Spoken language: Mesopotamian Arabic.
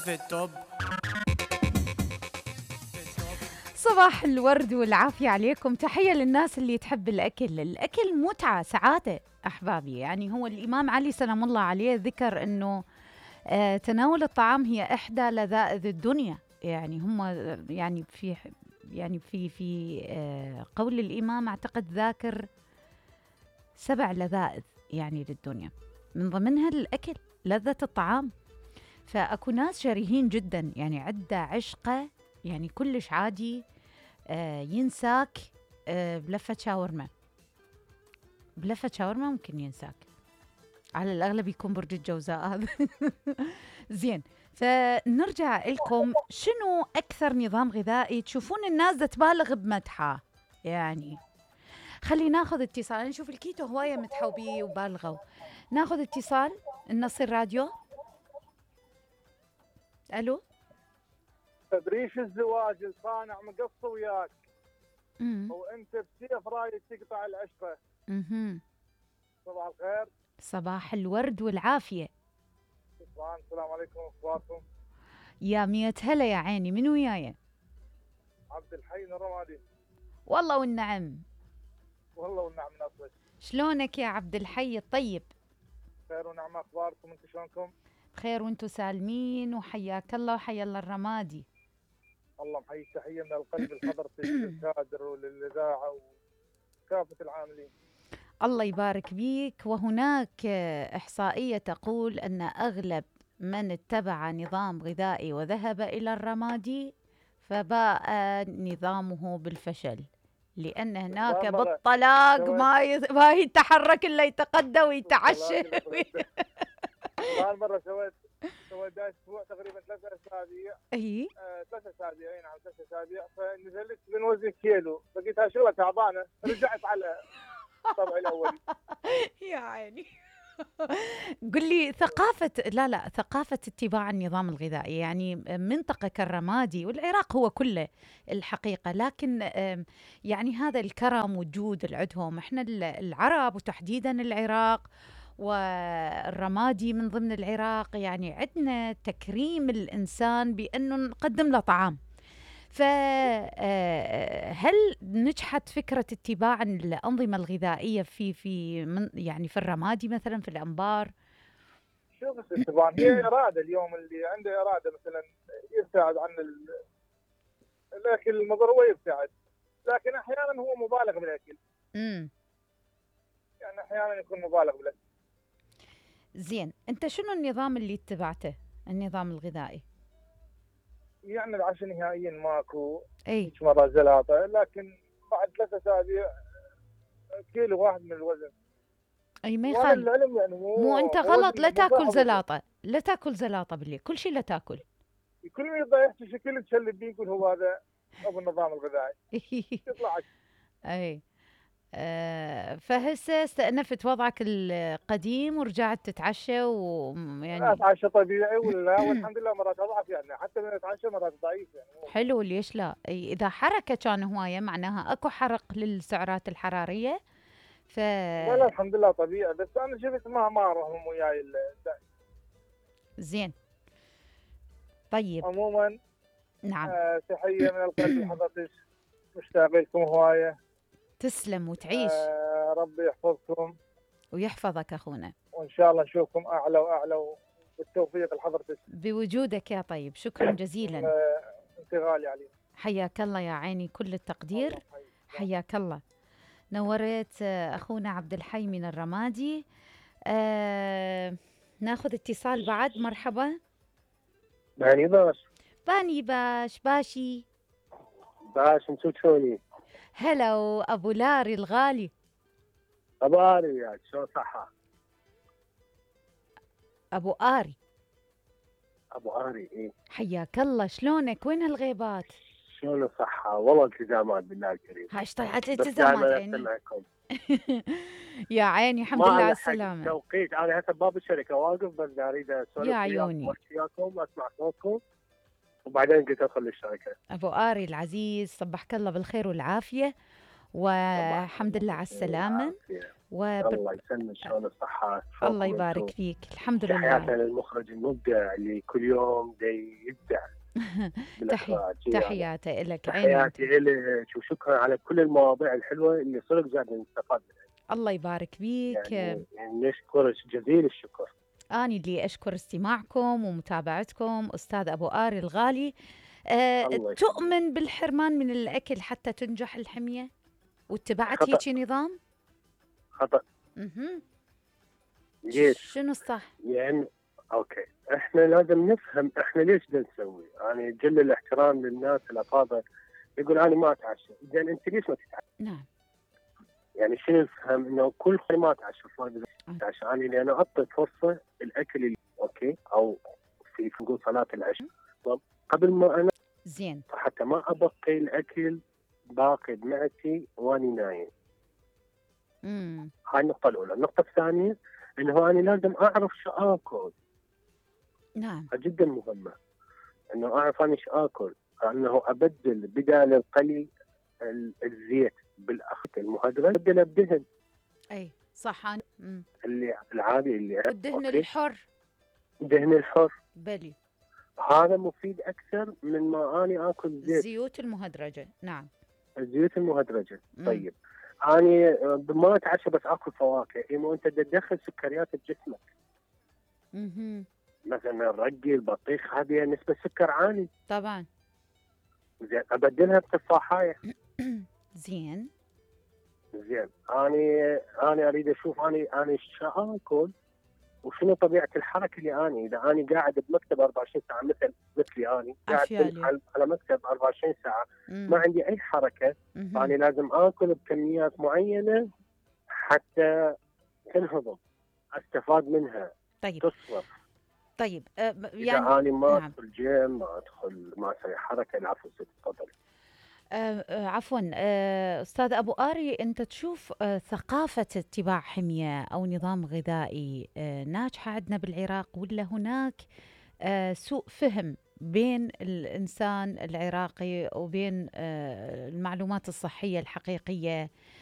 في التوب. صباح الورد والعافية عليكم. تحية للناس اللي تحب الأكل متعة سعادة أحبابي. يعني هو الإمام علي سلام الله عليه ذكر أنه تناول الطعام هي إحدى لذائذ الدنيا. يعني هم في قول الإمام أعتقد ذاكر 7 لذائذ يعني للدنيا، من ضمنها الأكل، لذة الطعام. فأكو ناس شريهين جدا، يعني عدة عشقة، يعني كلش عادي ينساك بلفة شاورما. بلفة شاورما ممكن ينساك، على الأغلب يكون برج الجوزاء هذا. زين، فنرجع لكم. شنو أكثر نظام غذائي تشوفون الناس دا تبالغ بمدحه؟ يعني خلي ناخذ اتصال. نشوف الكيتو هواية مدحوا بيه وبالغوا. ناخذ اتصال، نصير راديو. ألو، بريش الزواج الصانع مقص وياك وانت بسيف رايد تقطع العشره. صباح الخير. صباح الورد والعافيه. السلام عليكم، اخباركم؟ يا 100 هلا يا عيني. من وياي؟ عبد الحي من الرمادي. والله والنعم. والله والنعم نصرك. شلونك يا عبد الحي الطيب؟ خير ونعم، اخباركم انتم شلونكم؟ بخير وانتم سالمين، وحياك الله وحيا الله الرمادي. الله محيي، تحيه من القلب لحضرتك للكادر وللاذاعه وكافه العاملين. الله يبارك بيك. وهناك احصائيه تقول ان اغلب من اتبع نظام غذائي وذهب الى الرمادي فباء نظامه بالفشل، لان هناك بالطلاق ما يتحرك الا يتقدى ويتعشى. مرة سويت اسبوع تقريبا 3 اسابيع. اي 3 اسابيع، اي نعم 3 اسابيع. فنزلت من وزن كيلو، لقيتها شغله تعبانه، رجعت على طبعي الاولي. يا عيني. قل لي ثقافة اتباع النظام الغذائي، يعني منطقة كالرمادي والعراق هو كله الحقيقة، لكن يعني هذا الكرم والجود اللي عندهم احنا العرب، وتحديدا العراق والرمادي من ضمن العراق، يعني عندنا تكريم الإنسان بأنه نقدم له طعام. فهل نجحت فكرة اتباع الأنظمة الغذائية يعني في الرمادي مثلا، في الأنبار؟ شوف الاتباع هي إرادة. اليوم اللي عنده إرادة مثلا يبتعد عن الأكل المضر ويبتعد، لكن أحيانا هو مبالغ بالأكل. يعني أحيانا يكون مبالغ بالأكل. زين، أنت شنو النظام اللي اتبعته، النظام الغذائي؟ يعني العشاء نهائيا ماكو، اي مرة زلاطة، لكن بعد 3 اسابيع كيلو واحد من الوزن. اي ما يخالف. العلم يعني مو انت غلط، لا تاكل زلاطة، لا تاكل زلاطة بالليل، كل شيء لا تاكل. كل ما يبدا يحكي شكل تشلب بيه يقول هو هذا ابو النظام الغذائي. يطلع اي فهسه استأنفت وضعك القديم ورجعت تتعشى، ويعني اتعشى طبيعي ولا والحمد لله مرات اضعف، يعني حتى من اتعشى مرات ضعيف يعني. حلو، ليش لا؟ اذا حركه كان هوايه معناها اكو حرق للسعرات الحراريه. لا الحمد لله طبيعي، بس انا شفت ما اروح وياي زين طيب. عموما نعم. تحيه من القلب لحضرتك، مشتاق لكم هوايه. تسلم وتعيش. ربي يحفظكم ويحفظك اخونا، وان شاء الله نشوفكم اعلى واعلى، بالتوفيق لحضرتك بوجودك يا طيب. شكرا جزيلا. انت غالي علي. حياك الله يا عيني، كل التقدير. حياك الله، نورت اخونا عبد الحي من الرمادي. ناخذ اتصال بعد. مرحبا. باني باش باشي انتو شلوني؟ هلا ابو لاري الغالي. ابو آري يا شلون صحة؟ ابو آري اي حياك الله. شلونك؟ وين هالغيبات؟ شلون الصحة؟ والله التزامات بالله الكريم. هاش طلعت التزامات عيني. يا عيني الحمد لله على السلامة. توقيت انا هسه باب الشركة واقف، بس اريد اسولف يا عيوني وياكم واسمع صوتكم، وبعدين قلت ادخل للشركة. ابو آري العزيز، صبحك الله بالخير والعافية، والحمد لله على السلامة. الله يسلمك، شلون الصحة؟ الله يبارك فيك، الحمد تحياتنا لله. للمخرج المبدع اللي كل يوم يبدع بالإخراج. تحياتي لك، تحياتي لك، وشكرا على كل المواضيع الحلوة اللي صدق جاد نستفاد منها. الله يبارك فيك. يعني نشكرك جزيل الشكر. أنا اللي أشكر استماعكم ومتابعتكم. أستاذ أبو آري الغالي، تؤمن بالحرمان من الأكل حتى تنجح الحمية واتبعت هيك نظام؟ خطأ. ليش؟ شنو الصح؟ يعني اوكي، احنا لازم نفهم احنا ليش نسوي. يعني جل الاحترام للناس الافاضل يقول انا ما اتعشى، زين انت ليش ما تتعشى؟ نعم. يعني شنو نفهم انه كل ما اتعشى عشان انا انا اعطي فرصه الاكل اللي اوكي، او في نقول صلاه العشاء قبل ما انا زين، حتى ما ابقي الاكل باقي بمعدتي واني نايم. هاي النقطه الاولى. النقطه الثانيه انه انا لازم اعرف شو اكل. نعم، جدا مهمه انه اعرف انا شو اكل، انه ابدل بدال القلي الزيت بالاخت المهدرج ابدله بدهن. اي صح. اللي العادي اللي الدهن الحر، الدهن الحر بلي هذا مفيد اكثر من ما اني اكل زيت. الزيوت المهدرجه. نعم، الزيوت المهدرجه. طيب اني ما اتعشى بس اكل فواكه، اما انت تدخل سكريات بجسمك. مثلا الرقي، البطيخ، هذه نسبه سكر عالي طبعا. زين، ابدلها بتفاحيه. زين. اني اريد اشوف اني شو اكل وشنو طبيعه الحركه اللي اذا اني قاعد بمكتب 24 ساعه مثلي اني قاعد على مكتب 24 ساعه ما عندي اي حركه، فاني لازم اكل بكميات معينه حتى تنهضم، استفاد منها. طيب تصرف. طيب يعني اذا اني ما ادخل جيم، ما ادخل، ما اسوي حركه. العفو ست، تفضلي. عفوا أستاذ أبو آري، أنت تشوف ثقافة اتباع حمية أو نظام غذائي ناجحة عندنا بالعراق، ولا هناك سوء فهم بين الإنسان العراقي وبين المعلومات الصحية الحقيقية